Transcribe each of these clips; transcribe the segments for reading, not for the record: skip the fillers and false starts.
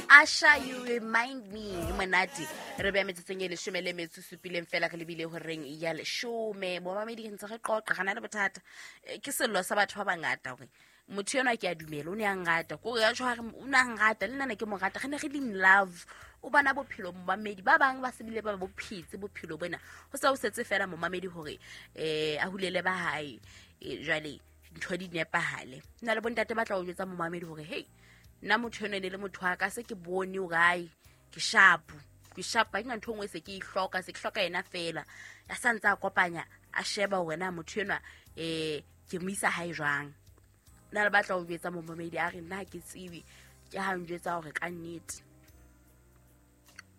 Asha, you remind me. Monate re beya metsotsong e leshome le metso supileng fela re lebile horeng ya leshome. Bomamedi re ntse re qoqa ga na le bothata. Ke sello sa batho ba bangata gore motho enwa ke a dumela o ne a nrata, kore ya tjho o ne a nrata le nna ne ke mo rata, re ne re le in love. O bona bophelo momamedi ba bang ba sebile ba bo phetse bophelo bona, ho sa o setse fela momamedi hore a hulele ba hae. Jwale ntho di nepahale. Nna le bontate ba tla o jwetsa momamedi hore hey, nna motho enwa e ne le motho wa ka, se ke bone hore ai ke sharp, ke sharp, ha ke na ntho e nngwe se ke e hloka, se ke hloka yena fela. A sa ntse a kopanya, a sheba hore na motho enwa ke mo isa hae jwang. Nna le batla ho jwetsa momamedi a re nna ha ke tsebe, ke ha njwetsa hore ka nnete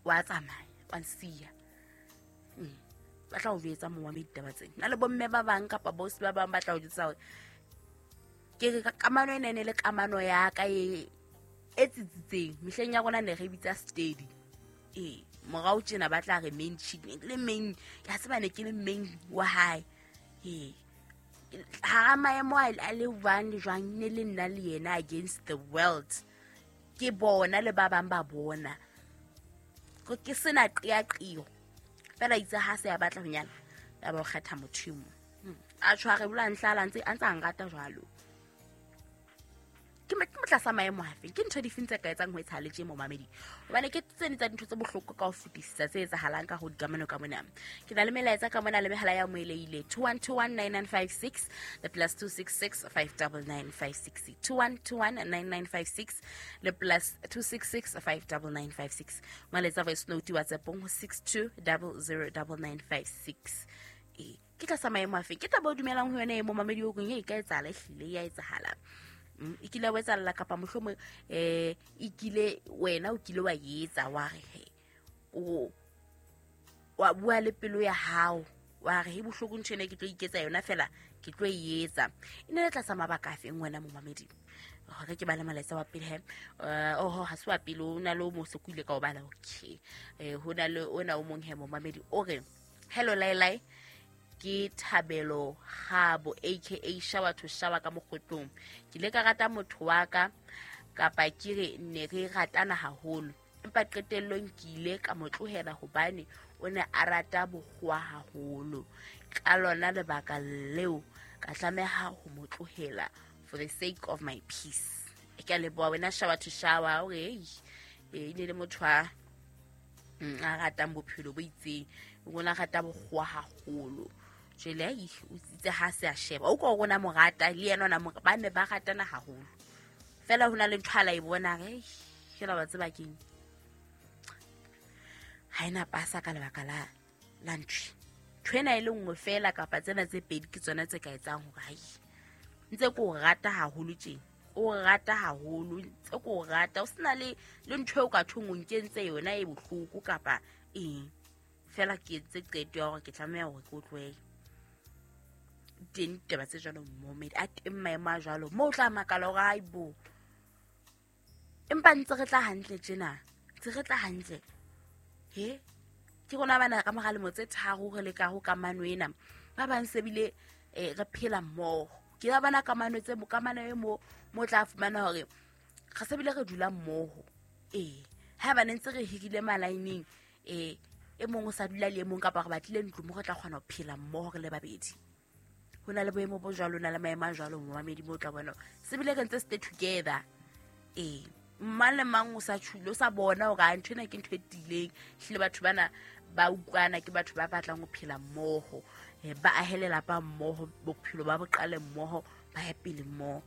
wa tsamaya wa nsiya. Ba tla ho jwetsa momamedi taba tsena. Nna le bomme ba bang kapa bosi ba bang ba tla ho jwetsa hore ke re kamano ena e ne le kamano ya ka e tsitsitseng. Mehleng ya rona ne re bitsa steady. Morao tjena ba tla re main chick, ne ke le main, ke a tseba ne ke le main wa hae. Hara maemo a le jwang le jwang, ne le nna le yena against the world. Ke bona le ba bang ba bona. Ke sena qeaqeo. Fela itse ha se a batla ho nyala, ya ba o kgetha motho e mong. A tshware bola nhlala a ntse a nrata jwalo. Ke motlasa maemo afe? Ke ntho difeng tse ka etsang ho etsahala tje momamedi? Hobane ke tse ding tsa dintho tse bohloko ka ho fetisisa tse etsahalang ka ho dikamano ka mona. Ke na le melaetsa ka mona le mehala ya moeleile 21219956 le plus 266 59956. 21219956 le plus 266 59956. Molaetsa voice note WhatsApp-ong ho 62009956. Ke tlasa maemo afe? Ke taba o dumelang ho yona e momamedi o reng e ka etsahala, ehlile ya etsahala. E kile wa etsahalla kapa mohlomong e kile wena o kile wa etsa wa re he, o wa bua le pelo ya hao wa re he bohloko ntho ena ke tlo iketsa yona fela ke tlo e etsa. E ne le tlasa mabaka a feng wena momamedi? Hore ke bale molaetsa wa pele he. Oho, ha se wa pele, o na le o mong se ko ile ka o bala. Okay. Ho na le ona o mong he momamedi o re hello Lailai, ke Thabelo Gabo aka Shower to Shower ka mokgotlong. Ke ile ka rata motho wa ka kapa ke re ne re ratana haholo, empa qetellong ke ile ka mo tlohela hobane o ne a rata bokgowa haholo. Ka lona lebaka leo ka tlameha ho mo tlohela for the sake of my peace. Ke a leboha wena Shower to Shower. O re, e ne le motho a ratang bophelo bo itseng, o ne a rata bokgowa haholo. Jwale ai, o itse ha se a sheba o ko rona mo rata le yena ona mo, ba ne ba ratana haholo. Fela ho na le ntho a la e bona re, fela wa tseba keng, ha ena pasa ka lebaka la ntho. Ntho ena e le nngwe fela kapa tsena tse pedi ke tsona tse ka etsang hore hai, ntse ke o rata haholo tje, o rata haholo, ntse ke o rata, o sena le ntho eo ka thong o nkentse yona e bohloko kapa eng. Fela ke entse qeto ya hore ke tlameha hore ke o tlohele. Teng ditaba tse jwalo momamedi, a teng maemo a jwalo moo o tla makala hore hai bo, empa ntse re tla hantle tjena, ntse re tla hantle. He, ke rona bana ka mora lemo tse tharo re leka ho kamano ena, ba bang se bile re phela mmoho. Ke ba bana kamano tse kamano e mo tla fumana hore re se bile re dula mmoho. Ha ba ne ntse re hirile malaineng, e mong o sa dula le e mong kapa re batlile ntlo mo re tla kgona ho phela mmoho re le babedi. Ho na le boemo bo jwalo, ho na le maemo a jwalo momamedi mo o tla bona se bile re ntse stay together. Mang le mang o sa tjhule, o sa bona hore a ntho ena ke ntho e tiileng. Ehlile batho bana ba utlwana, ke batho ba batlang ho phela mmoho, ba ahe lelapa mmoho, bophelo ba bo qale mmoho, ba ye pele mmoho.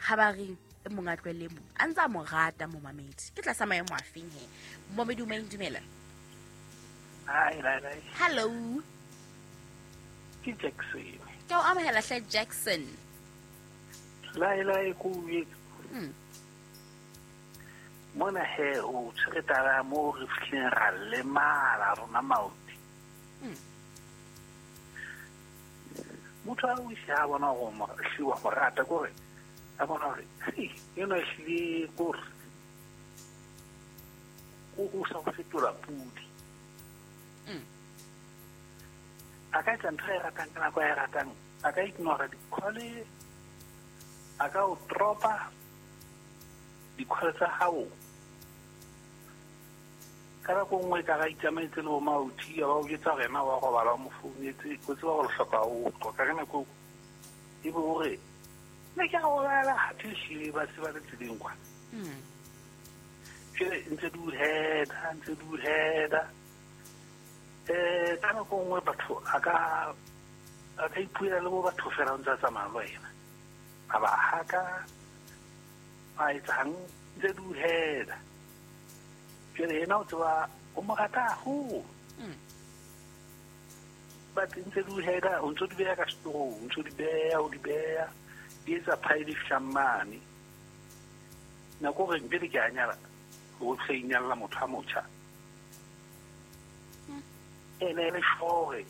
Ha ba re e mong a tlohelle e mong, a ntse a mo rata momamedi. Ke tlasa maemo a feng he? Momamedi o mang, dumela? Hi, Lailai. Hello. Ke Jackson. Ke o amohela hle Jackson. Lailai ko o etse. Mona he o tshwere taba mo re fihleng ra lemala rona maoto. Motho a o ise a bona hore mo hliwa mo rata kore a bona hore hei ena hlile kore o sa go fetola pudi. A ka etsa ntho e ratang ka nako e ratang, a ka ignora di-call, a ka o dropa di-call tsa hao. Ka nako nngwe ka ga itsamaetse le bo mauthi a ba o jetsa rena wa robala o mo founetse o tseba gore hloka o qoqa ka nako e be o re ne ke a robala hathe ehlile ba se ba le tseleng kwa. Jwale ntse di o heda ntse di o heda. Ka nako nngwe batho a ka ipuela le bo batho fela o ntse a tsamaya le wena. A ba haka a etsang ntse di o heda. Jwale yena o tseba o mo rata haholo. But ntse di o heda o ntso di beha ka setorong, o ntso di beha o di beha di etsa pile e fihlang mane. Nako gore pele ke a nyala o tle inyalla motho a motjha. Ene e le sure